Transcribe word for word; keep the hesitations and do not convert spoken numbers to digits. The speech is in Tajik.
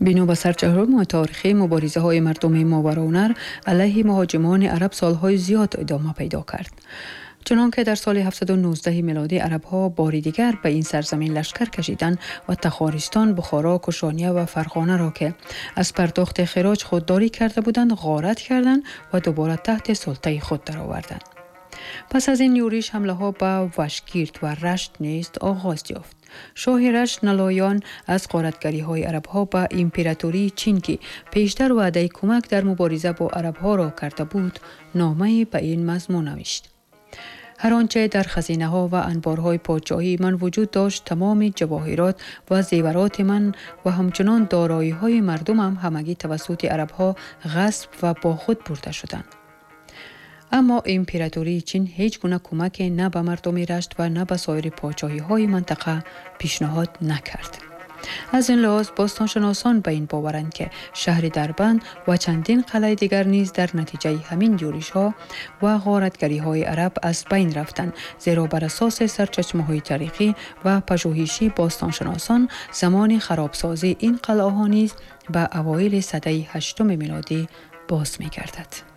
Бино ба сарчашмаҳои таърихӣ, муборизаҳои мардуми Мовароуннаҳр алайҳи муҳоҷимони араб солҳои зиёд идома пайдо кард. Чунон ки дар соли ҳафтсаду нуздаҳ милодӣ арабҳо бори дигар ба ин сарзамин лашкар кашиданд ва Тахористон, Бухоро, Кушония ва Фарғонаро, ки аз пардохти хироҷ худдорӣ карда буданд, ғорат карданд ва дубора таҳти султаи худ дароварданд. Пас аз ин юриш ҳамлаҳо ба Вашгирд ва Рашт низ оғоз ёфт. Шоҳи Рашт Налоён аз ғоратгариҳои арабҳо ба императории Чин, ки пештар ваъдаи кӯмак дар мубориза бо арабҳоро карда буд, номае ба ин мазмун навишт: ҳар он чӣ дар хазинаҳо ва анборҳои подшоҳии ман вуҷуд дошт, тамоми ҷавоҳирот ва зевароти ман ва ҳамчунон дороиҳои мардумам ҳамагӣ тавассути арабҳо ғасб ва бо худ бурда шуданд. Аммо императории Чин ҳеҷ гуна кӯмаке на ба мардуми Рашт ва на ба соири подшоҳиҳои минтақа пешниҳод накард. Аз ин лиҳоз бостоншиносон ба ин боваранд, ки шаҳри Дарбанд ва чандин қалъаи дигар низ дар натиҷаи ҳамин юришҳо ва ғоратгариҳои араб аз байн рафтанд, зеро бар асоси сарчашмаҳои таърихӣ ва пажӯҳиши бостоншиносон замони харобсозии ин қалъаҳо низ ба авоили садаи ҳаштуми милодӣ боз мегардад.